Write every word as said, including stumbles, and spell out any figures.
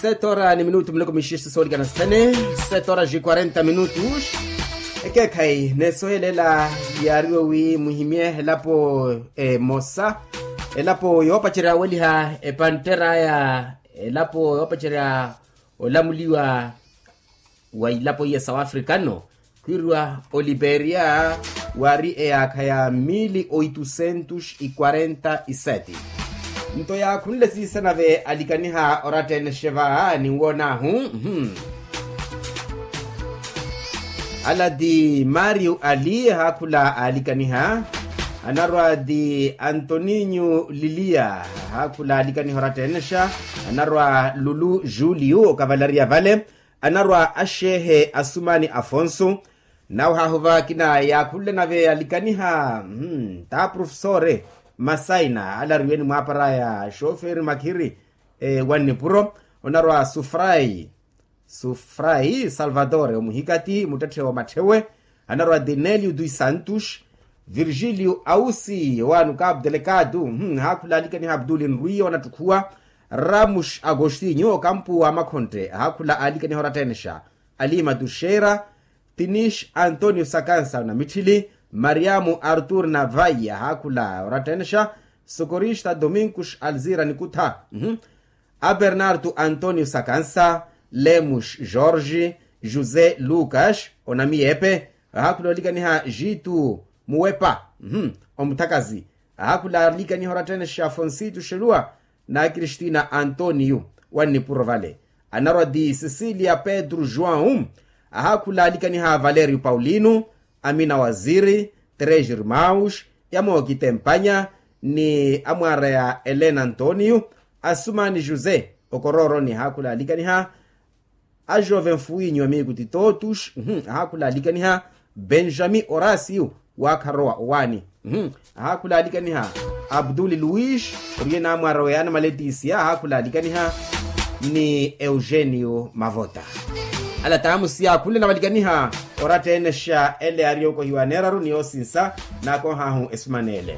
Sete horas ni minutu miloko mixixi soolikana sithene. Sete horas e quarenta minutos. Ekeekhayi neesohelela yaariwe wi muhimye elapo emosa, elapo yoopacerya weliha epanttera aya, elapo yoopacerya olamuliwa wa ilapo iya south africano, khwiiriwa oliperia, waari eyaakha ya mili oitusentus e quarenta e sete. Nto yaakhunle siisanave alikaniha oratteenexe va ninwoonaahu. Ala ti mario ali ahaakhula aalikaniha, anarwa ti antoninho lilia, ahaakhula aalikaniha oratteenexa, anarwa lulu julio okavalariya vale, anarwa axeehe asumani afonso. Nawe haahuva akina yaakhunle nave alikaniha, ta aprofesore masaina alariwe ni mwaaparaya xoferi makhiri wa nnipuro, onarwa sufrai sufrai salvatore omuhikati muttetthe wa matthewe, anarwa dinelio dos santos, virgilio ausi owaano capo delegado, ahaakhula alikaniha abduli nrwiya onattukhuwa, ramos agostinho okampu wa makhontte ahaakhula alikaniha oratteenexa, alima tuxeira, tinish antonio sakansa namitthili, mariamo artur navai ahaakhula oratteenexa, sokorista domingos alzira nikutha, abernardo antonio sakansa, lemos jorge, josé lucas onamiyepe, ahaakhula olikaniha jitu muwepa, omuthakazi, ahaakhula alikaniha oratteenexa fonsito xeluwa, na kristina antonio wa nnipuro vale, anarwa ti cecilia pedro joão, ahaakhula alikaniha valerio paulino, amina waziri, tres irmaus, yamookitempanya, ni amwaara ya elena antonio, asumani josé, okorooroni ahaakhula alikaniha, ajove mfuwinyu amiku ti totus, ahaakhula alikaniha, benjami orasio, waakharowa owaani, ahaakhula alikaniha, abduli luis, oriye naamwaara weyaana maletisia ahaakhula alikaniha, ni eugenio mavota. Ala taamusi yaakhunle navalikaniha, oratteenexa ele yaari yookohiwa neeraru ni yoosinsa, naakohaahu esumanele.